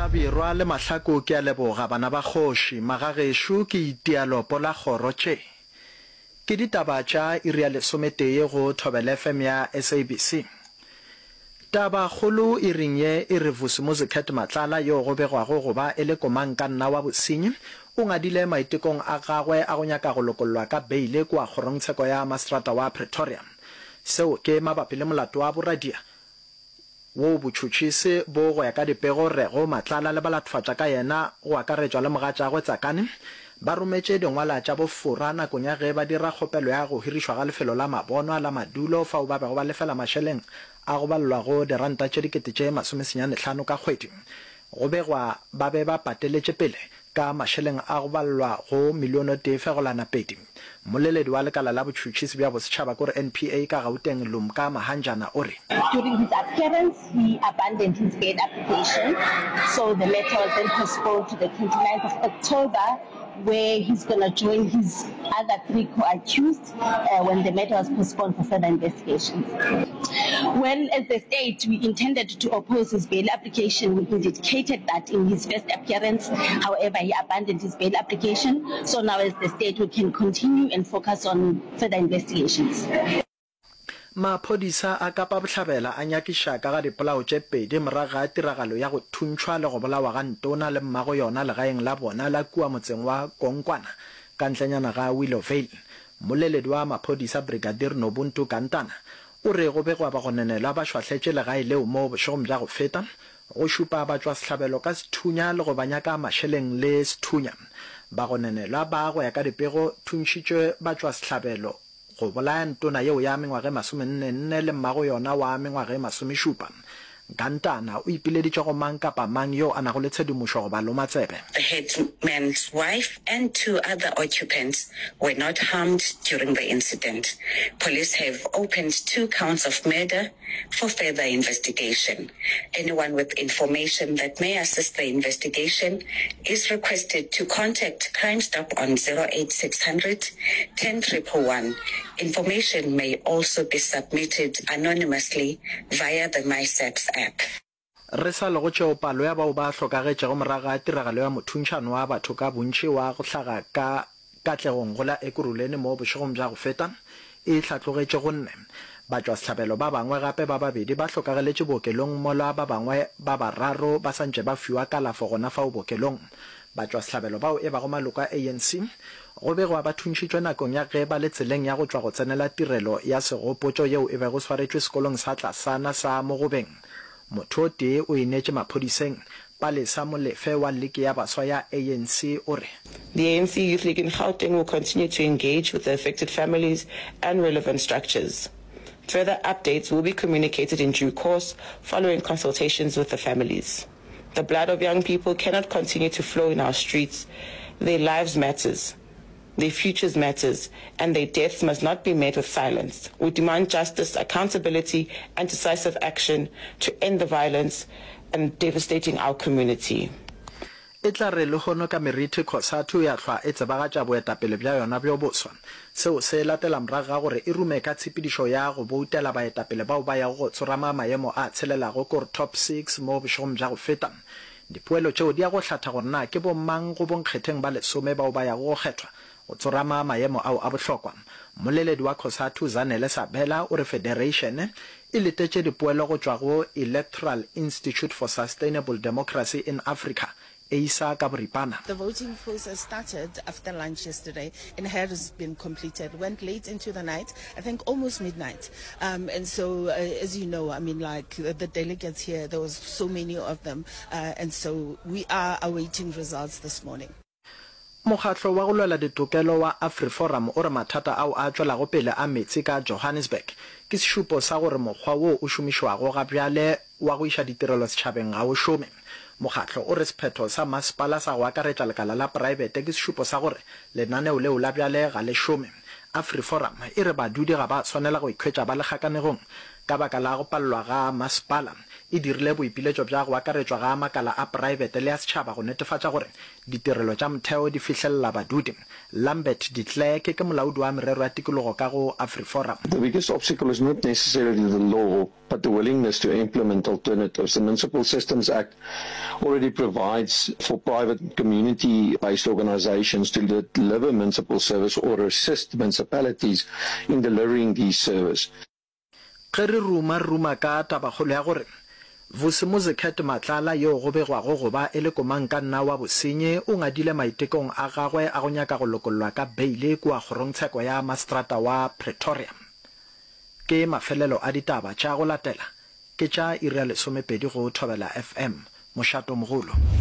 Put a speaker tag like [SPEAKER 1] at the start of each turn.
[SPEAKER 1] Hlabirwa le Mahlaku ke a leboga bana ba kgoši, magagešo ke itia lopo la kgoro tše. Ke ditaba tša iri ya lesometee go Thobela FM ya SABC. Taba kgolo iring ye e re Vusimuzi Cat Matlala yo go begwago go ba e le komangkanna wa bosenyi o ngadile maitekong a gagwe a go nyaka go lokollwa ka beile kua kgorongtsheko ya maseterata wa Pretoria. Seo ke mabapi le molato wa boradia wo botšhotšhisi bo go ya ka dipego rego Matlala le balatfatša ka yena go akaretšwa le mogatšagwe Tsakane ba rometše dingwala tša bofora nakong ya ge ba dira kgopelo ya go hirišwa ga lefelo la mabonwa la madulo fao ba bego ba lefela mašeleng a go balelwa go diranta tše dikete tše masomesenyanehlano ka kgwedi. Go begwa ba be ba pateletše pele ka mašeleng a go balelwa go milione o tee fegolana pedi. Mmoleledi wa lekala la botšhotšhisi bja bosetšhaba kore NPA ka Gauteng Lumka Mahanjana o re.
[SPEAKER 2] During his appearance, he abandoned his bail application, so the matter was then postponed to the 29th of October where he's gonna join his other three co-accused when the matter was postponed for further investigations. Well, as the state, we intended to oppose his bail application. We indicated that in his first appearance. However, he abandoned his bail application. So now as the state, we can continue and focus on further investigations.
[SPEAKER 1] Maphodisa a Kapa Bohlabela a nyakiša ka ga dipolao tše pedi morago ga tiragalo ya go thuntšhwa le go bolawa ga Ntona le mmago yona legaeng la bona la kua motseng wa Konkwana ka ntlenyana ga Willowvale. Mmoleledi wa maphodisa Brigadier Nobuntu Gantana o re go begwa bagononelwa ba šwahletše legae leo mo bošegong bja go feta go šupa batšwasehlabelo ka sethunya le go ba nyaka mašeleng le sethunya. Bagononelwa ba go ya ka dipego thuntšhitše batšwasehlabelo Go bolaya ntona yeo ya mengwaga e masomenne-nne le mmago yona wa mengwaga e masomešupa. Gantana o ipileditše go mang kapa mang yo a nago le tshedimošo go ba loma tsebe.
[SPEAKER 3] The headman's wife and two other occupants were not harmed during the incident. Police have opened two counts of murder for further investigation. Anyone with information that may assist the investigation is requested to contact Crime Stop on 08600 10111. Information may also be submitted anonymously via the MySAPS app.
[SPEAKER 1] Re sa le go tšeo, palo ya bao ba hlokagetšego morago ga tiragalo ya mothuntšhano wa batho ka bontši wa go hlaga ka Katlegong go la Ekurhuleni mo bošegong bja go feta e hlatlogetše go nne. Batšwasehlabelo ba bangwe gape ba babedi ba hlokagaletše bookelong mola ba bangwe ba bararo ba sa ntše ba fiwa kalafo gona fao bookelong. Batšwasehlabelo bao e bago maloko a ANC go begwa ba thuntšhitšwe nakong ya ge ba le tseleng ya go tšwa go tsenela tirelo ya segopotšo yeo e bego swaretšwe sekolong sa tlasana sa Mogobeng. Motho o tee o ineetše maphodiseng. Palesa Molefe wa Liki ya Baswa ya ANC o re.
[SPEAKER 4] The ANC Youth League in Gauteng will continue to engage with the affected families and relevant structures. Further updates will be communicated in due course following consultations with the families. The blood of young people cannot continue to flow in our streets. Their lives matters. Their futures matters, and their deaths must not be met with silence. We demand justice, accountability, and decisive action to end the violence and devastating our community.
[SPEAKER 1] E tla re lehono ka meriti Cosatu ya hlwa e tsebagatša boetapele bja yona bjo boswa. Seo se latela morago ga gore e rume ka tshepedišo ya go boutela baetapele bao ba yago go tsorama maemo a tshelelago kor Top Six mo bošegong bja go feta. Dipoelo tšeo di ya go hlatha gore na ke bomang go bonkgetheng ba lesome bao ba yago go kgethwa go tsorama maemo ao a bohlokwa. Mmoleledi wa Cosatu Zanele Sabela o re federeišene e letetše dipoelo go tšwa go Electoral Institute for Sustainable Democracy in Africa, EISA ka boripana.
[SPEAKER 5] The voting process started after lunch yesterday and has been completed. Went late into the night, I think almost midnight. Um, and so, uh, as you know, I mean, like the, the delegates here, there was so many of them. Uh, and so we are awaiting results this morning.
[SPEAKER 1] Mokgatlo wa go lwela ditokelo wa AfriForum o re mathata ao a tšwelago pele a meetse ka Johannesburg ke sešupo sa gore mokgwa wo o šomišwago ga bjale wa go iša ditirelo setšhabeng ga o šome. Mokgatlo o re sephetho sa masepala sa go akaretša lekala la praebete ke sešupo sa gore lenaneo leo la bjale ga le šome. AfriForum e re badudi ga ba swanela go ikhwetša ba le kgakanegong ka baka la go palelwa ga masepala. e dirile boipiletšo bja go akaretšwa ga makala a praebete le a setšhaba go netefatša gore ditirelo tša motheo di fihlelela badudi. Lambert de Klerk ke molaodi wa merero ya tikologo ka go AfriForum.
[SPEAKER 6] The biggest obstacle is not necessarily the law, but the willingness to implement alternatives. The Municipal Systems Act already provides for private and community-based organizations to deliver municipal service or assist municipalities in delivering these service.
[SPEAKER 1] Ge re ruma, re ruma ka tabakgolo ya gore Vusimuzi Cat Matlala yo go begwago go ba e le komangkanna wa bosenyi o ngadile maitekong a gagwe a go nyaka go lokollwa ka beile kua kgorongtsheko ya maseterata wa Pretoria. Ke mafelelo a ditaba tša go latela ke tša iri ya lesomepedi go Thobela FM, Mošatomogolo.